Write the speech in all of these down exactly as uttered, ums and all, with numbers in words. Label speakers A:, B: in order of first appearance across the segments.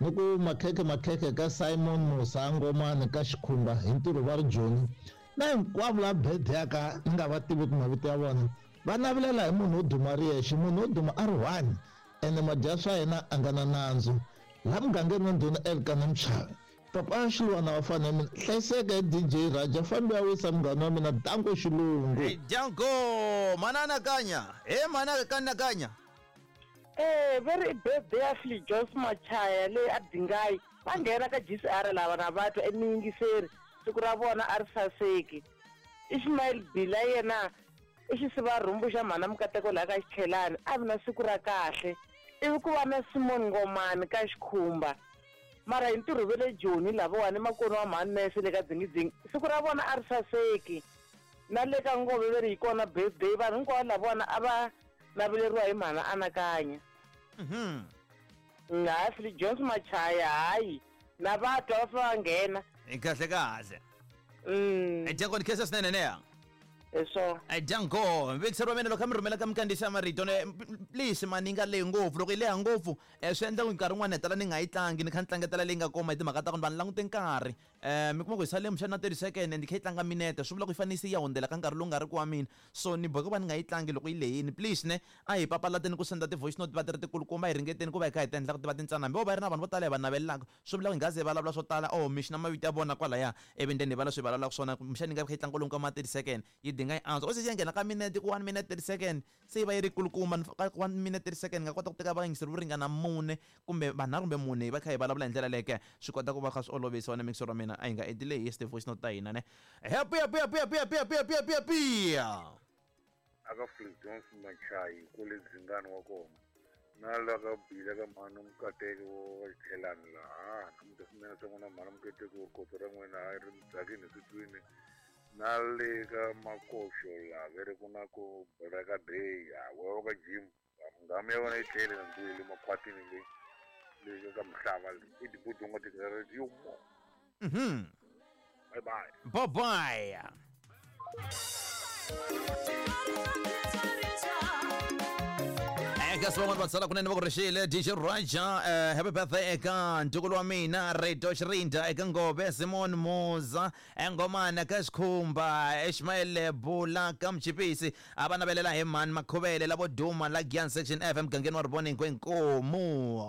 A: Ni ku makhekhe makhekhe ka Simon Musa Ngomani ka Xikhumba hi ntirho va ri Joni. Na hinkwavo lava birthday ya ka ni nga va tiviki mavito ya vona. Va navelela hi munhu wo duma ri yexe, munhu wo duma a ri one. Ene madya swa yena a nga na nandzu. Laha mugangeni wa ndhuna Elkana Mchavi. Papa Xilwana wa fana mina hlayiseka hi D J Raja fambi ya wisa munghana wa mina Danko Xilungu.
B: Hey, Danko manana kanya he manana kanya kanya
C: eh very birthday ya Philip Jones Machaya le a Dingayi va nghena ka G C R lava na vatwa emiyingiseri siku ra vona a ri saseki. Ishmael Bila yena i xisivarhumbu xa mhana Mukateko laha ka Xichelani a vi na siku ra kahle. Ivi ku va na Simon Ngomani ka Xikhumba. Mara hi ntirho ve le Joni lavawani makoni wa mhani nese le ka Dzingidzingi siku ra vona a ri saseki. Na le ka Ngove ve ri hi kona birthday vanhu hinkwavo lavona a va naveleriwa hi mhana Anakanya.
B: Mhm.
C: Hayi Philip Jones Machaya hayi na vatwa va fa va nghena.
B: Kahle kahle.
C: Mm.
B: Danko ni khensa swinene neya.
C: Eso.
B: Danko, vekiseri wa mina loko mi rhumela ka minkandziyiso ya marito ne please mani nga lehi ngopfu loko yi leha ngopfu swi endla ku nkarhi wun'wani hetela ni nga yi tlangi ni kha ni tlangetela leyi nga koma hi timhaka ta ku ni va ni langute nkarhi um mi kuma ku hi sale muxana na thirty second and kha yi tlanga minete swi vula ku yi fanele se yi ya hundzela ka nkarhi lowu nga ri ku wa mina so ni boheka ku va ni nga yi tlangi loko yi lehini please ne a hi papalateni ku senda ti-voice note va ti ri tikulukumba hi ringeteni ku va hi kha hi ti endla ku ti va tintsana hambi vo va ri na vanhu vo tala hi va navelelaka swi vula ku hi nga ze hi vulavula swo tala oh mixi na mavito ya vona kwalaya ivi then hi va leswi hi vulavulaka swona muxana yi nga kha yi tlanga kwalomu ka ma thirty second yi dinga yi antswa o se yi nghena ka minete ku one minute thirty second se yi va yi ri kulukumba ka one minute thirty second nga kota ku teka vayingiseri vo ringana mune kumbe vanharhu kumbe mune hi va kha hi vulavula hi ndlela leyo ke swi kota ku va kha swi olovisa wena mixer wa mina a hi nga endli leyi hi voice note ta hina ne happy happy happy happy happy happy happy happy happy
D: aka Philip Jones Machayi kule Dzingani wa kona na la ka Bila ka mhana Mukateko wa Xichelani laha namuntlha swinene swa n'wina mhana Mukateko kotso ra n'wina a ri mudzakini switwini na le ka Makoxo laha ve ri ku na ku Braka Day wa ka Jim nghamu ya wena yi tlele na ndzi le makhwatini leyi leyi ka Mhlava leyi i tibuti u nga tikireti yo mo.
B: Mhm.
D: Bye bye.
B: Bye bye. Eka sibonga vatsala kunene va ku rixile D J Raja uh, happy birthday eka ntukulu wa mina Reto Xirinda eka Ngove Simon Muza Engomana ka Xikhumba Ishmael Bula ka Mchipisi a va navelela hi mani Makhuvele lavo duma la Gyan Section F emugangeni wa Rivoni Nkwenkomu.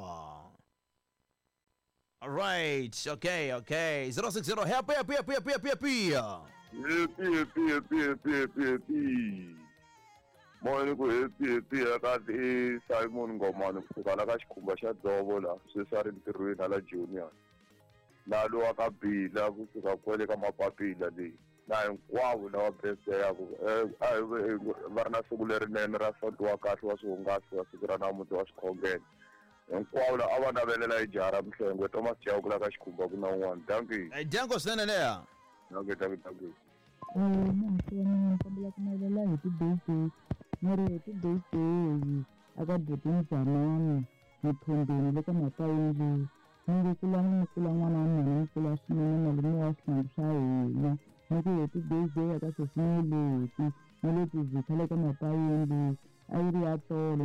B: All right, okay, okay. zero six zero happy happy happy happy happy happy.
E: Happy happy happy happy happy happy. Moyeni ku happy happy eka i Simon Ngomani kusuka la ka Xikhumba xa Dzovo la sweswi a ri ntirhweni la Junior. Na lowa ka Bila kusuka kwale ka Mapapila leyi na hinkwavo lava birthday ya ku va ri na siku lerinene ra sonto wa kahle wa swihungasi wa siku ra namuntlha wa swikhongelo. Hinkwavo lava a va navelela hi jaha ra Mhlengwe Thomas Chauke la ka Xikhumba ku na un'wana. Dankie.
B: Danko swinene leya.
E: Dankie, dankie, dankie.
F: Muhaxi wa mina ni kombela ku navelela happy birthday ni ri happy birthday aka buti Mzamani Mthombeni le ka Mapayindlu ni nge kula ni kula n'wana wa mina ni kula swinene malume wa swihlangi swa hina ni ku happy birthday aka sesi Meleti ni le Tizitha le ka Mapayindlu a yi ri ya tolo ni